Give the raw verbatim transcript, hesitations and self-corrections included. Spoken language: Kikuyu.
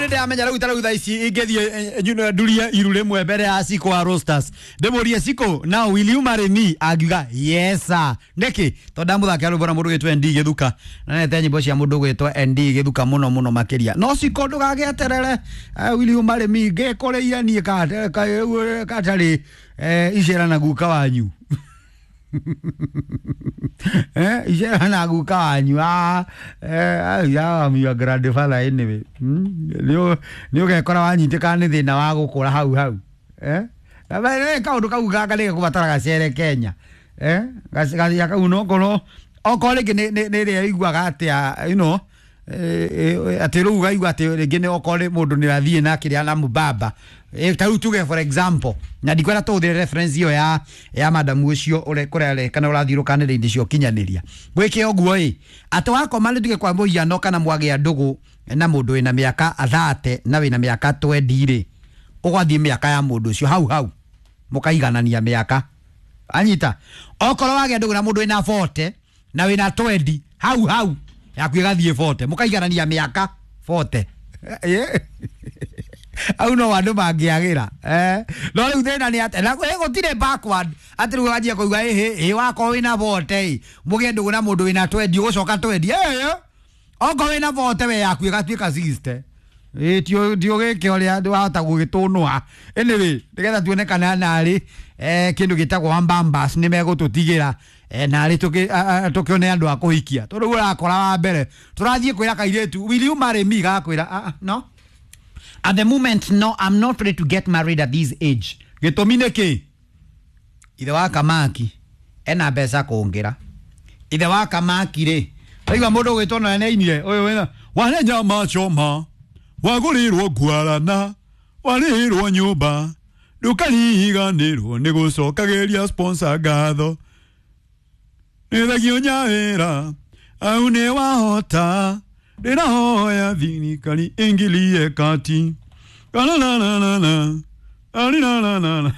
Rĩu nĩndĩramenya rĩu ta rĩu thaa ici ingĩthiĩ ndurie iru rĩmwe mbere ya Ciko wa Roasters, ndĩmũrie, "Ciko, now will you marry me?" Angiuga, "Yes sir." Nĩkĩ? Tondũ ndamũthakĩra rwĩmbo na mũndũ gwĩtwo N D Gĩthuka, na nete nyĩmbo cia mũndũ gwĩtwo N D Gĩthuka mũno mũno makĩria. No Ciko, ndũgagĩeterere eh, "Will you marry me?" Ngĩkũrĩire niĩ katarĩ eh, icera na guka wanyu, eh icera na guka wanyu. Ah, eh ya, I'm your grandfather anyway. hmm? Nĩ ũgekora wanyitĩkana nĩ thĩna wa gũkũra hau hau. eh kaũndũ kau gaka nĩ gakũbatara gacere Kenya. eh gacia kau no korwo okorwo rĩngĩ nĩ ĩrĩa iguaga atĩa, you know atĩ rĩu ũgaigua atĩ rĩngĩ nĩ okorwo nĩ mũndũ nĩ athiĩ na kĩrĩa na mũbaba, ta rĩu tuge for example, na ndikwenda tũhũthĩre reference ĩyo ya ya madamu ũcio ũrĩa kũrĩa kana ũrathiũrũka nenda-inĩ cia ũkinyanĩria gwĩke ũguo ĩ, atĩ wakoma nĩ tuge kwa mũhiano kana mwagĩa ndũgũ na mũndũ wĩna mĩaka thate na wĩna mĩaka twenty rĩ, ũgathiĩ mĩaka ya mũndũ ũcio hau hau mũkaiganania mĩaka. Anyita, okorwo wagĩa ndũgũ na mũndũ wĩna forty na wĩna twenty, hau hau yaku ĩgathiĩ forty, mũkaiganania mĩaka forty. Au no andũ mangĩagĩra eh no rĩu thĩna nĩ atĩ na gũtirĩ backward, atĩ rĩu wanjia kũigua ĩhĩ ĩ wakorwo wĩna forty ĩ, mũgĩe ndũgũ na mũndũ wĩna twenty, ũgũcoka twenty. Ĩĩ, okorwo wĩna forty, we yaku ĩgatuĩka sixty. Ĩ tio gĩkĩ ũrĩa wahota gũgĩtũnũha. Anyway, nĩgetha tuone kana narĩ eh, kĩndũ gĩtagwo Wambambas nĩ megũtũtigĩra eh, narĩ tũkĩone andũ a kũhikia, tondũ rĩu ũrakora wa mbere tũrathiĩ kwĩra kairĩtu, "Will you marry me?" Gakwĩra, "Ah, no, at the moment no, I'm not ready to get married at this age." Gĩtũmi nĩ kĩ? Ithe wa kamaki ena mbeca kũngĩra ithe wa kamaki rĩ. Waigua mũndũ ũgwĩtwo no nĩainire ũyũ wĩna wale nyama choma, wagũrĩrwo ngwarana, warĩrwo nyũmba, ndũkariganĩrwo nĩ gũcokagĩria sponsor ngatho, nĩ thagio nyawĩra au nĩ wahota, ndĩrahoya thirikari ĩngilie kati. La la la la la la la.